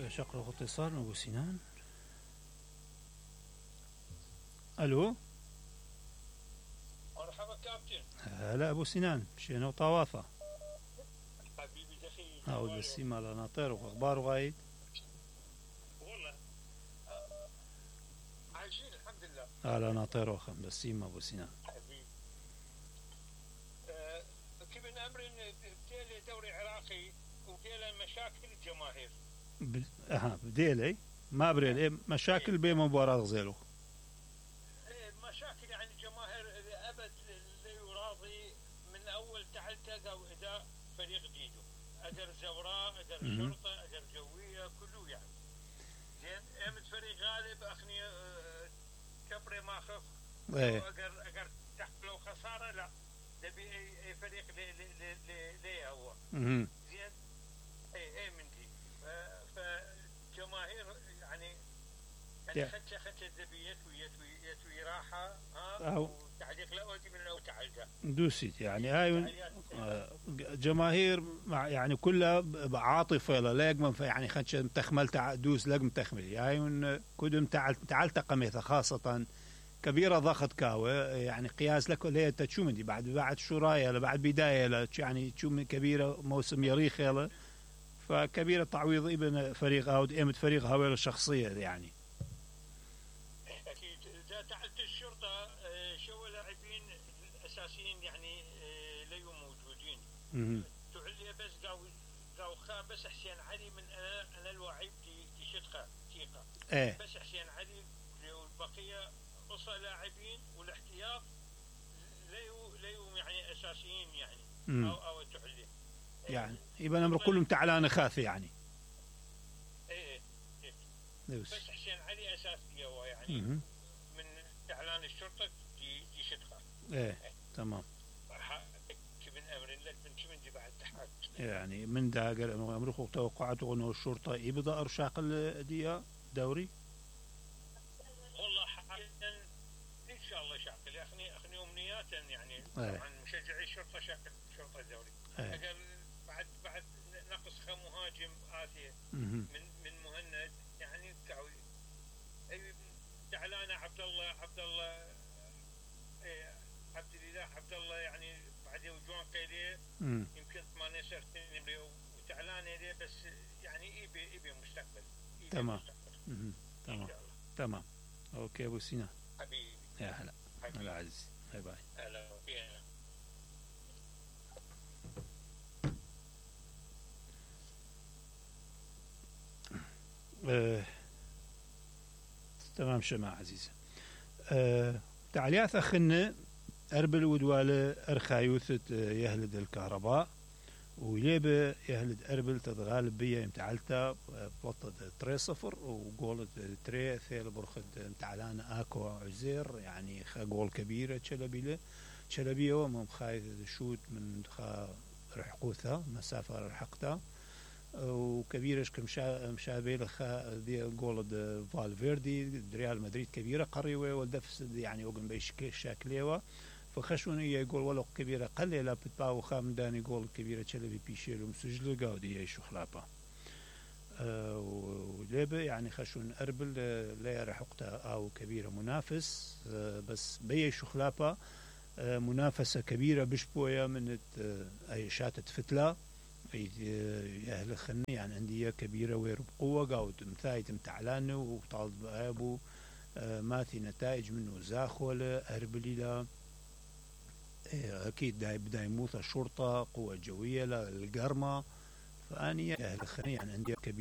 شقرة اتصال من أبو سنان. ألو، مرحبا كابتن. هلا أبو سنان، شنو طوافة؟ حبيبي دخيل هاو البسيمة على ناطر وأخباره غايد؟ والله عايشين الحمد لله على ناطر وخم بسيمة أبو سنان حبيبي. كيف أمر بديلي دوري عراقي وديلي مشاكل الجماهير. بديلي ما بريل مشاكل بين مباراة غزيلو. مشاكل يعني الجماهير أبد لا يراضي من أول تعلتق أو إداء فريق جديده، أدر زوراء أدر شرطة أدر جوية كله يعني زين. أمد فريق غالب أخني كبري ما خف أقر تحت لو خسارة لا تبي أي فريق ليه هو زين. أي من دي فجماهير يعني خدشة ذبيت ويتوي راحة وتعليق لا أودي من أول تعلقة دوسيت يعني هاي جماهير يعني كلها عاطفة لاجمن يعني خدشة متخمل دوس لاجم تخمل هاي كدم تعال قميثة خاصة كبيرة ضغط كاوة يعني قياس لك اللي تشو من دي بعد شراية بعد بداية يعني تشو من كبيرة موسم يريخ يلا فكبيرة تعويض ابن فريق أو قيمة فريق هاويل الشخصية يعني. أكيد إذا تعلت الشرطة شو لاعبين الأساسيين يعني ليوا موجودين تعلي بس قاو بس حسين علي من أنا الوعيب دي شتقة ثقة بس حسين علي والبقية قصة لاعبين والاحتياط ليوا يعني أساسيين يعني أو تعلي يعني يبقى الأمر كلهم تعلان خاثي يعني. إيه بس حسين علي أساسي هو يعني من إعلان الشرطة دي شتقة تمام. من أمر لك من شو من دي بعد تحت يعني من داقر أمرخ توقعته أنه الشرطة يبدأ أرشاق الدية دوري. والله حقيقة إن شاء الله شاقل أخني أمنيات يعني طبعا مشجعي الشرطة شاقل شرطة دوري بعد نقص مهاجم آسيا من مهند يعني كاوي تعلانة عبد الله عبد الله يعني بعد وجوان قيديه يمكن 8 سنين وتعلانة ليه بس يعني يبي مستقبل تمام تمام اوكي ابو سينا حبيبي يا هلا هلا عزيز باي باي. هلا تمام شماعة عزيزة. تعليات أخنا أربل ودوالة أرخايوثة يهلد الكهرباء ويليبة يهلد أربل تتغالب بيا امتعالتا بطة 3-0 وقولت 3 ثيل برخد امتعالان آكو عزير يعني خا قول كبيرة شلبية ومم خايث شوت من خا رحقوثها مسافة رحقتها وكبيرش كمشابه لخا دي جول فالفيردي ريال مدريد كبيره قريوه والدفس يعني اوغن بيش شاكليوه فخشون هي جول ولو كبيره قليله بتباو خام داني جول كبيره تشلبي بيشيلو مسجل قاودي يشو خلابه وليبه يعني خشون اربل لا رحقتها او كبيره منافس بس بيشو خلابه منافسه كبيره بشبويه من اي شاتت فتله أهل خني يعني أندية كبيرة وير بقوة قاود مثايت متعلانه وطالب أبو ماثي نتائج منه زاخولة أربليلا أكيد بداية موت الشرطة قوة جوية للقرمة فأني أهل خني يعني أندية كبيرة